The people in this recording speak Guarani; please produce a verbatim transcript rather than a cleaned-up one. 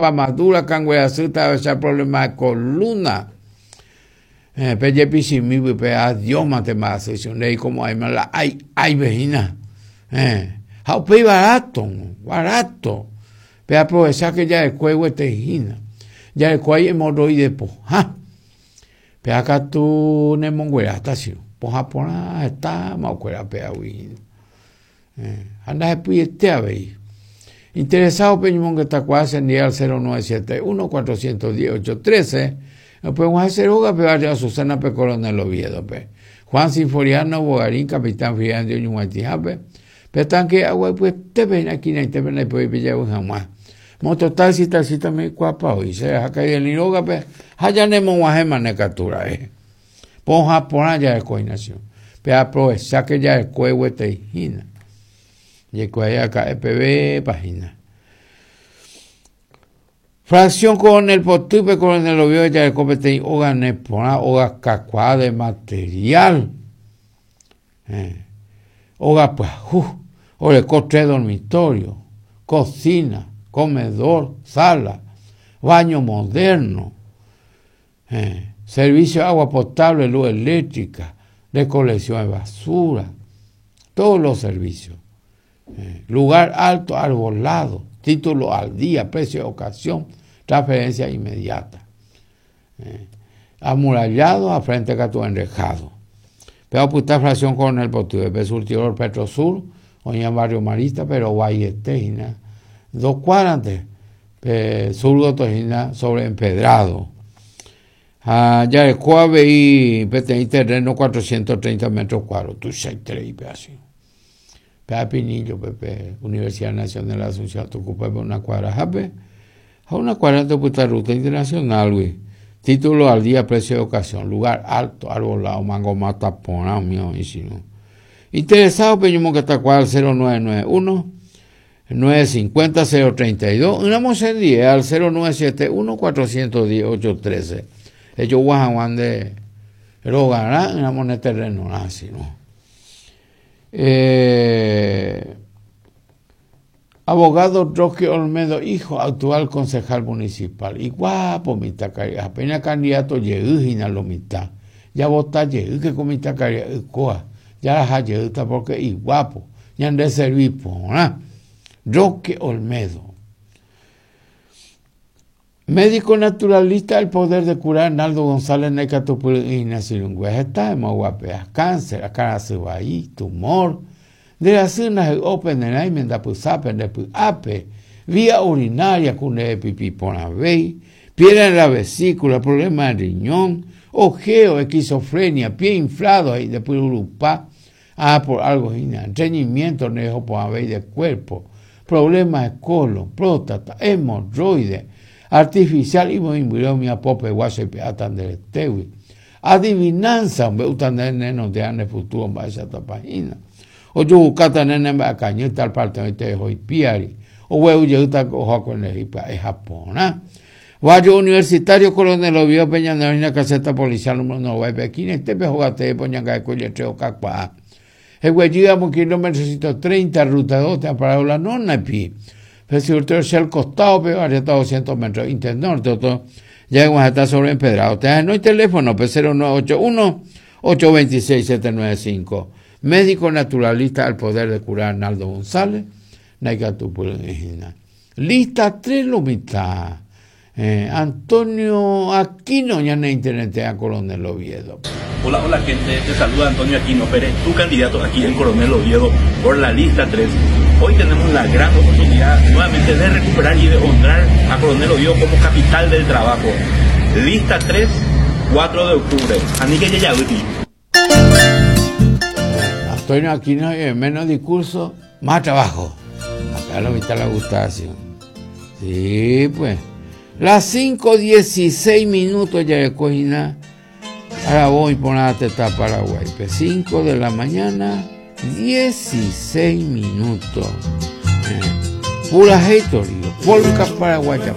Madura, kangue asy, problema de columna. Eh, pe jepichimi pe adiós mate mba'asy ndéi como aima la ai ai vehína. Eh, ha upéi barato, barato. Pe aprovecha que jarekue guetehína. Jarekuái hemorroide pohã. Pe katu nemongueráta che. Pohã porã hetáma okuera peagui hína. Eh, ha ndahepyiete avei. Interesado pe ñomongetakuaa chendie al cero nueve siete uno cuatrocientos diez ocho trece. Upe og̃uahẽ che rógape barrio Azucena pe Coronel Oviedo-pe. Juan Sinforiano Bogarín, Capitán Fidel oñug̃uaitĩhápe. Pe tanque agua ipyetépe hína esquinaitépe ndaipói pejavy hag̃ua. Mototaxi, taxista meikuaápa oĩ. Che rehaka rógape ha janemog̃uahẽmane katu ra'e. Pohã porã jareko hína che. Pe aprovecha que jarekue guetei hína. Jaikuaa aka'e peve hína. Fracción Coronel Potýpe, Coronel Oviedo jareko peteĩ óga neporã, óga kakuaa de material. Eh, óga pyahu, oreko tres dormitorios, cocina, comedor, sala, baño moderno, eh, servicio de agua potable, luz eléctrica, recolección de basura, todos los servicios. Eh, lugar alto, arbolado, título al día, precio de ocasión, transferencia inmediata. Eh, amurallado, a frente katu enrejado. Pero oputa fracción Coronel Potýpe, surtidor Petrosur, oĩ en barrio Marista, pero vaiete hína. Dos cuadras pe sur hína sobre empedrado. Ha jareko avei peteĩ terreno cuatrocientos treinta metros cuadrados, tuichaiterei pe así. Pe Pinillo, pe Universidad Nacional de Asunción, ocupa una cuadra jape. Ha una cuadra de ruta internacional, güey. Título al día, precio de ocasión, lugar alto, arbolado, mango mata porã, mío, y si no. Interesado, peño que está cuadra cero nueve nueve uno, nueve cincuenta, cero treinta y dos, una diez al cero nueve siete uno, cuatrocientos diez, ocho trece. Ellos guajaguán de rogará, una moneda terreno, así, ¿no? Eh, abogado Roque Olmedo, hijo, actual concejal municipal. Y guapo, mitad caria. Apenas candidato llegó lo mitad. Ya vota llegó que con mitad caria coa. Ya la llegó porque y guapo. Ya no serví por Roque Olmedo. Médico naturalista, el poder de curar Arnaldo González Necatupurina Sirungüe. Está en guapea, cáncer, acá tumor, de la cena open de la pusape, de ape, vía urinaria, cune pipí por piedra en la vesícula, problema de riñón, ojeo, esquizofrenia, pie inflado y después urupá, ah, por algo, estreñimiento, nejo por de cuerpo, problemas de colon, próstata, hemorroides, artificial y muy mi apope guaso y peatan del tewi. Adivinanza, hombre, utan nene de ane futuro va esa página. O yo buscata nene va caño tal parte de te hoy piari. O huevo yo uta cojo con el hipa es Japón. Barrio Universitario Coronel Oviedo Peña de la caseta policial número nueve Pekín, este pejogate poñanga de cuello treo cacua. El güey kilómetro ciento treinta ruta dos te ha parado la nona pi. Pero si el costado, pero hasta doscientos metros, internorte, otro, ya hemos estado sobre empedrado. No hay teléfono, P cero nueve ocho uno, ocho veintiséis, siete nueve cinco. Médico naturalista al poder de curar Arnaldo González, Naikatupurina. Lista tres lo mitad. Eh, Antonio Aquino, ya en internet a Coronel Oviedo. Hola, hola gente, te saluda Antonio Aquino Pérez, tu candidato aquí en Coronel Oviedo por la lista tres. Hoy tenemos la gran oportunidad nuevamente de recuperar y de honrar a Coronel Oviedo como capital del trabajo. Lista tres, cuatro de octubre. Anique Yeyaguti. Antonio Aquino, menos discurso, más trabajo. Acá lo mitad la gustación. Sí, pues. Las cinco dieciséis minutos ya de cocina. Ahora voy por la teta Paraguay. cinco de la mañana, dieciséis minutos. Eh, pura hater, polka paraguaya.